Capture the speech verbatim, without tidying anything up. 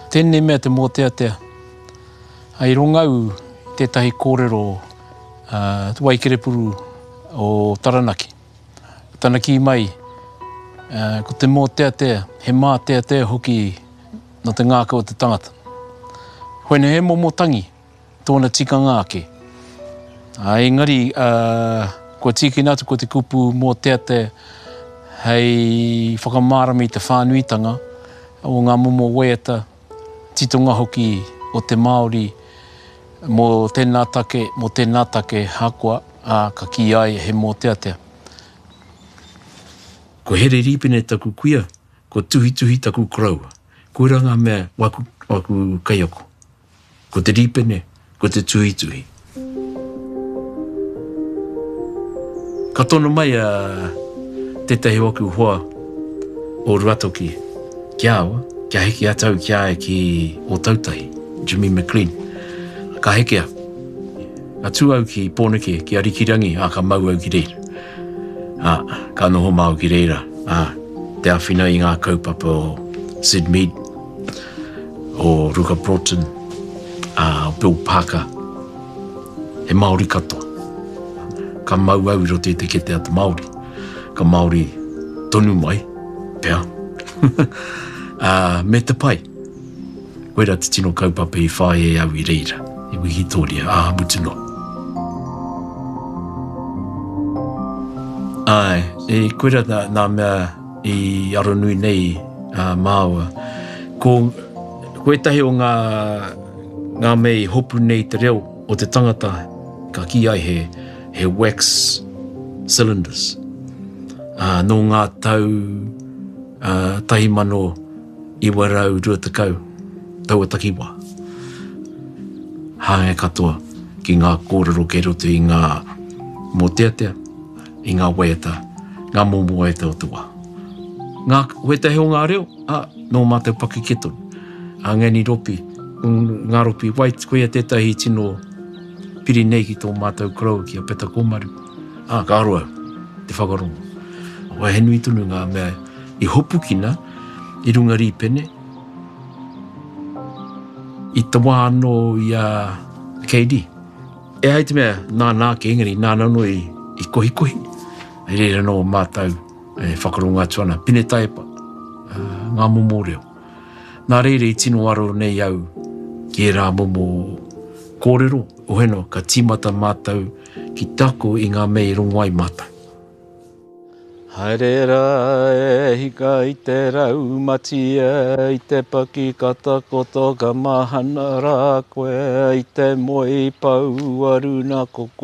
Tēnei mea te mōteatea. I rongo au i tētahi kōrero uh, Waikerepuru o Taranaki. Tana kī mai, uh, ko te mōteatea, he māteatea hoki no te ngākau o te tangata. Hoene he momo tangi, tōna tikanga ake. A, engari, uh, kua tīkina atu ko te kupu mōteatea hei whakamārama i te whānuitanga o ngā momo waiata, titonga hoki o te Māori mō tēnā take, mō tēnā take hakoa, ā, ka kī ai he mōteatea. Ko Here Rīpene taku kuia, ko Tuhituhi taku koroua. Koira ngā mea waku, waku kaiako. Ko te Rīpene, ko te Tuhituhi. Ka tono mai a tētahi o aku hoa o Ruatoki ki a au, kia heke atu au ki a ia ki Ōtautahi, Jimmy McLean. Ka heke au. Ka tū au ki Pōneke, ki Arikirangi, ā, ka mau au ki reira. Ā, ka noho māu ki reira, ā, te āwhina i ngā kaupapa o Sid Mead, o Ruka Broughton, ā, o Bill Parker. He Māori katoa. Ka mau au i roto i te kete a te Māori. Ka Māori tonu mai, pea. Ā, me te pai. Koira te tino kaupapa i whāia e au i reira, i Wikitoria, ā, mutu noa. Āe, e, koira nā, nā mea i aronui nei a māua. Ko, ko ētahi o ngā, ngā mea i hopu nei te reo o te tangata, ka kī ai he, he wax cylinders. Ā, nō ngā tau uh, tahi mano iwa rau rua tekau, taua takiwā. Hāngai katoa ki ngā kōrero kei roto i ngā mōteatea, i ngā waiata, ngā momo waiata o te wā. Ngā, wētahi o ngā reo, ā, nō mātou pakeke tonu. A Ngani Ropi, ngā Ropi White, koia tētahi tino piri nei ki tō mātou koroua ki a Peta Kōmaru. Ā, ka aro au te whakarongo. Wai he nui tonu ngā mea i hopukina i runga rīpene. I te wā anō i a K D. E ai te mea, nāna ake, engari nāna anō i, i kohikohi. Hei reira anō mātou e whakarongo atu ana, Pine Taepa, ngā momo reo. Nā reira i tino aro nei au ki ērā momo kōrero, oheno ka tīmata mātou ki te ako i ngā mea i rongo ai mātou. Haere rā e hika i te raumatia, i te paki ka takoto ka mahana rā koe, i te moe pouaru nā ko koe.